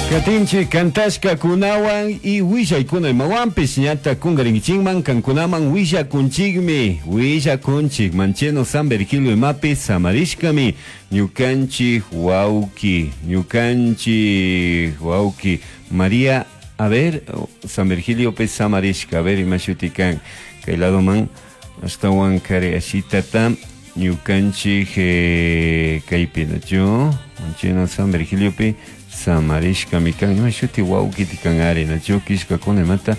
Katinchik kantashkakunawan y willaykuna imawanpish ñata kunkarinkichikman kankunaman willakunchikmi willakunchik Mancheno San Virgilio imapi samarishkami ñukanchik wawki ñukanchik wawki María a ver San Virgiliopi samarishka a ver ima shuti kan kay ladoman ashtawan kari ashitata ñukanchik kaypi nachu Mancheno San Virgiliopi samarishkami kan ima shuti wawkiti kan ari nachu killkakuna imata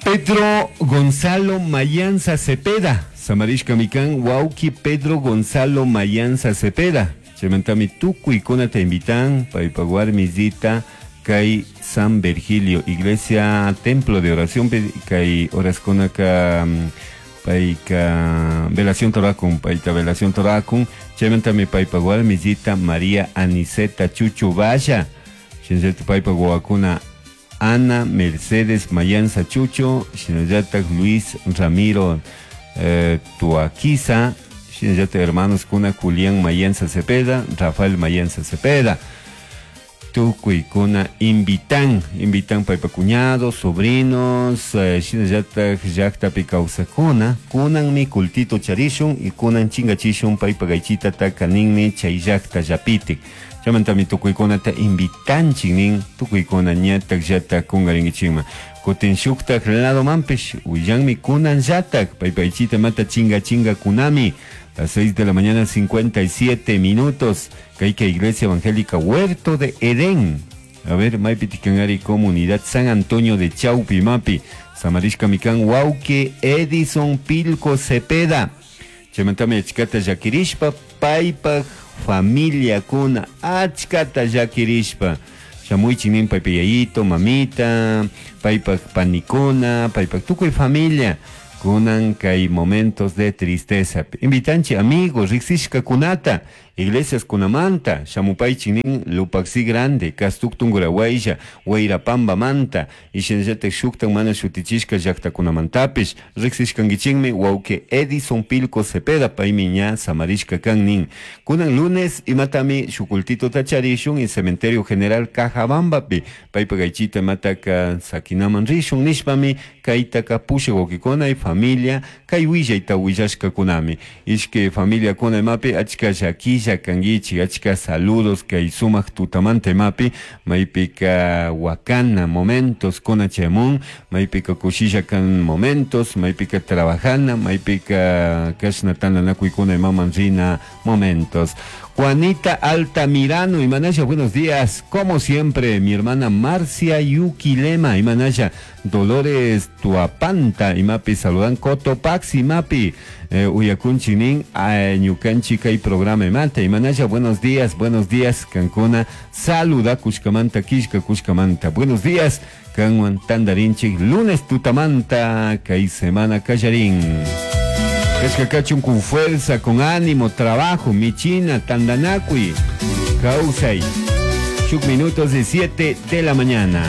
Pedro Gonzalo Mayanza Cepeda samarishkami kan wawki Pedro Gonzalo Mayanza Cepeda chaymantami tukuykunata invitan paypak warmisita kay San Virgilio Iglesia Templo de Oración kay horaskunaka payka velación torakun payta velación torakun chaymantami paypak warmisita María Aniceta Chuchu Valla shinallatak paypak wawakuna Ana Mercedes Mayanza Chucho shinallatak Luis Ramiro Tuaquiza shinallatak hermanos kuna Julián Mayanza Cepeda Rafael Mayanza Cepeda tukuykuna invitan invitan paypak cuñados sobrinos shinallatak llaktapi kawsakuna kunanmi cultito charishun y kunan chinkachishun paypak aychitata ninmi chay llaktallapitik chaymantami tukuykunata invitanchik nin tukuykuna ñatak llatak kunkarinkichikman kutin shuktak ladomanpish willanmi kunanllatak paypak aychita mata chinga chinga kunami las 6 de la mañana 57 minutos Kayka Iglesia Evangélica Huerto de Edén. A ver, maypi tikanari Comunidad San Antonio de Chaupimapi. Samarishka mikan wawki Edison Pilco Cepeda. Chaymantami achkata llakirishpa paypak familiakuna achkata llakirishpa. Shamuychik nin paypak yayito, mamita, paypak panikuna, paypak tukuy familia. Kunan kay momentos de tristeza. Invitanchik amigos, riksishkakunata, iglesias kunamanta, shamupaychik nin Lupaxi Grande, Castuk Tungurahua, Wayrapambamanta, y shinallatak shuktak mana shutichishka llaktakunamantapish, riksishkankichikmi wawki Edison Pilco Cepeda, paymi ña samarishka kan nin. Kunan lunes imatami shuk cultitota charishun y Cementerio General Cajabambapi, paypak aychita imataka sakinaman rishun nishpami kaytaka pushak wawkikuna y familia kay willayta willashkakunami. Ishkay familiakuna imapi achka llakilla kankichik, achka saludos kay sumak tutamanta imapi, maypika wakana momentos kuna chayamun, maypika kushilla kan momentos, maypika trabajana, maypika kashna tantanakuykuna imaman rina momentos. Juanita Altamirano, Imanaya, buenos días. Como siempre, mi hermana Marcia Yuquilema, Imanaya, Dolores Tuapanta, Imapi, saludan Cotopaxi, Imapi, Uyakunchinin, Ñukanchi, kay programa Imanta, Imanaya, buenos días, Cancuna, saluda Kushkamanta, Kishka Kushkamanta, buenos días, Kanwan Tandarinchik, lunes Tutamanta, kay semana Kallarín. Kashkakachun con fuerza, con ánimo, trabajo, michina, tandanacui, kausay. Shuk minutos de 7 de la mañana.